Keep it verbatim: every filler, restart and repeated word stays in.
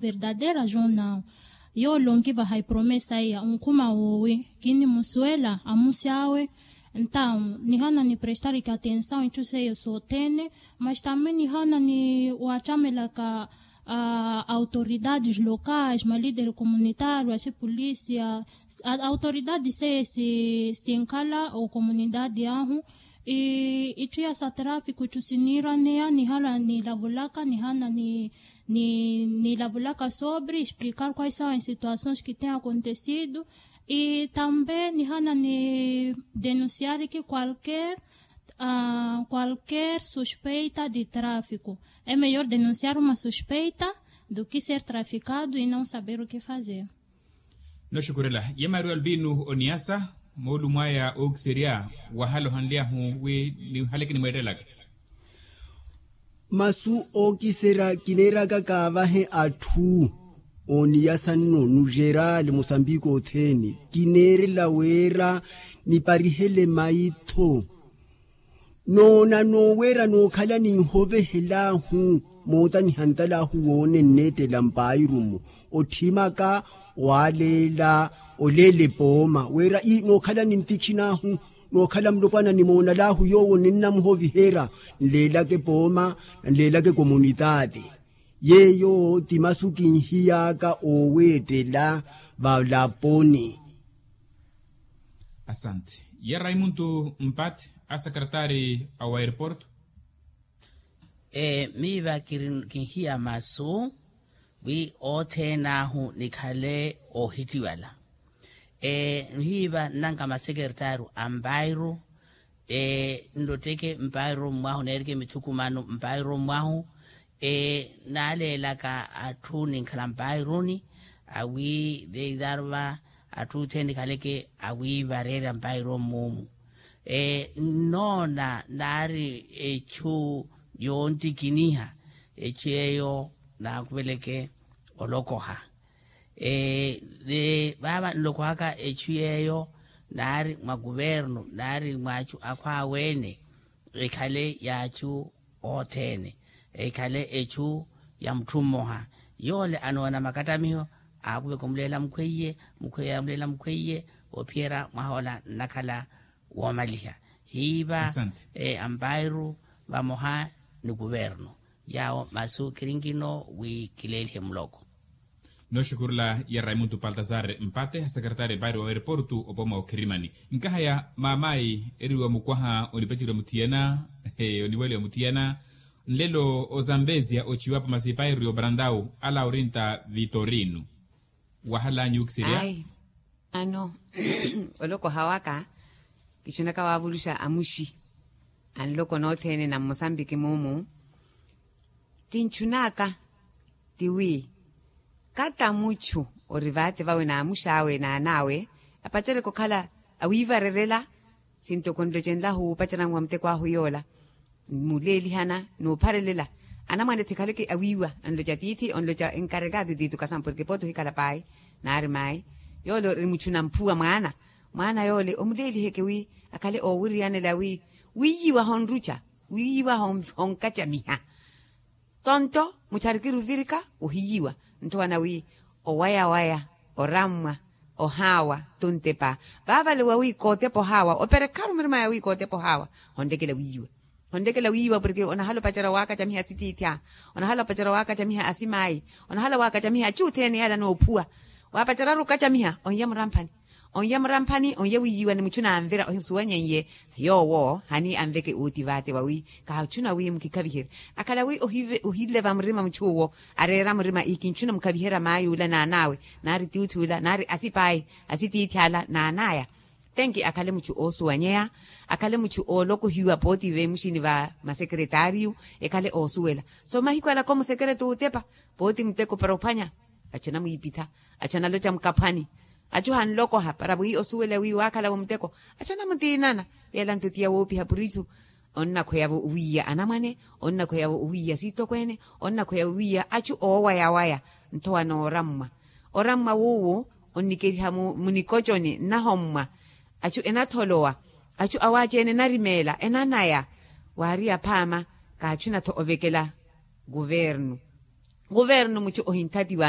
Verdadeira journal. Yoole onkivaha epromesa iya onkhuma woowi kinnimusuwela amusi awe. Entawu nihana niprestariki atensawu itthu seiyo sothene. Mas tambi nihana ni wattamelaka autoridades locais malideri comunitario asipolisia. Autoridades seiyo sinkhala okomunitadi ahu. Itthu ya sa trafiku itthu siniiraneya nihala nilavulaka nihana ni nilavulaka sobre explicar quais são as situações que têm acontecido. E também nihana ni denunciar ki qualquer qualquer suspeita de trafiku. É melhor denunciar uma suspeita do que ser traficado e não saber o que fazer. Noxukurela ye mario albino oniyasa moolumo aya ookiserya wahala ohanlyahu wi nihaleke nimweettelaka. Masu ookiserya kineeraka kaavahe atthu ooniyasa nno nujerali musambiki othene kineerela wira niparihele maitho. Noona nooweera nookhala ninhovehel'ahu mootanyiha ntal'ahu woone nneettela mpairumu otthimaka waaleela oleela epooma wira ii nookhala nintikhin'ahu nookhala mulopwana nimoonal'ahu yoowo ninnamuhoviherya nleelaka epooma nleelaka ekomunitaati. Yeeyo ti masu kinhiy'aka ooweettela valaponi. Asante. Ye raimuntu mpati a sakaratari a wa airport. Miiva kinhiya masu wi othene ahu nikhale oohittiwala. Miiva nnanka masekeretaru a mpairu nlotteke mpairu mwahu neerike mithukumano mpairu mwahu. Naaleelaka atthu ninkhala mpairuni awi deidar va atthu othene nikhaleke awiivareerya mpairu mmumu. Nnoona naari echu yoontikiniha echu yeeyo naakuveleke olokoha. Vaava nlokohaka echu yeeyo naari mwa kuvernu naari mwa achu akhwaawe-ene ekhale ya achu othene ekhale echu ya mutthu mmoha. Yoole anoona makattamiho aakuveka omuleela mukhweiye mukhweiye amuleela mukhweiye. Oophiyerya mwaha ola nnakhala woomaliha hiiva ampairu vamoha ni kuvernu. Yaawo masu khirinkino wi kileelihe muloko. Nooxukurela ya raimuntu paltazar mpate a sakaratari mpairi wa aeroportu opooma okhirimani. Nkahaya maamayi eriwa mukwaha onipaceriwa muthiyana oniwaliwa muthiyana. Nlelo ozambezia ochiwapo masi mpairi obrandau a laurinta vitorino. Wahalanyu okiserya. Ai, ano olokoha waka kichunaka wavuluxa amuxi anloko nothene na mmosambiki mumu. Kinchunaka tiwi kata muchu ori vate vawe na amuxawe na anawe apacereke okhala awivarerela. Sinto konlocenlahu wupacerani wa muteko ahu yola muleelihana nuupharelela anamwane thikhaleke awiiwa. Anloca tiithi onloca enkarekado tiithi okasamu porke pooti ohikhala payi naari mayi. Yola ori muchu na mphuwa mwaana mwaana yoole omuleeliheke wi akhale oowiriyanela wi wiiyiwa honruca wiiyiwa honkacamiha. Tonto mucharikiri ovirika ohiyiwa nthowana wi owayawaya orammwa ohaawa tuntepa. Vaavale wa wi kootepa ohaawa operekharu mirimaya wi kootepa ohaawa honlekela wiiyiwa. Honlekela wiiyiwa porke onahala opacerya waakacamiha asitiithi aha onahala opacerya waakacamiha asimayi onahala waakacamiha achu othene yale anoophuwa. Waapaceryaru okacamiha onya muramphani onya muramphani onya wiiyiwa ni muchu naanvira ohisuwanyeiye. Yoowo hani anveke uuti vaate vawi kaachuna wi mukikhaviherye akhala wi ohileva murima muchu owo areera murima ikinchuna mukhaviherya mayi ula naanawe naari tiuthi ula naari asipayi asitiithi ala naanaya. Tenki akhale muchu oosuwanyeya akhale muchu oolokohiwa pooti veemuxini va masekeretariyu ekhale oosuwela so mahiku alaka omusekereta ootepa pooti muteko para ophwanya. Achu anamwiipitha achu analoca mukaphwani achu hanlokoha para wi osuwela wi waakhala-vo muteko. Achu anamutiinana yeela nto tiya woopiha purisu onnakhweya-vo owiiya anamwane onnakhweya-vo owiiya siitokweene onnakhweya owiiya achu oowayawaya. Nthowa noorammwa orammwa wuuwu onnikeriha munikoconi nnahommwa achu enatholowa achu awaaci-ene enarimeela enanaya. Waari aphaama kaachuna-tho ovekela kuvernu kuvernu muchu ohinthatiwa.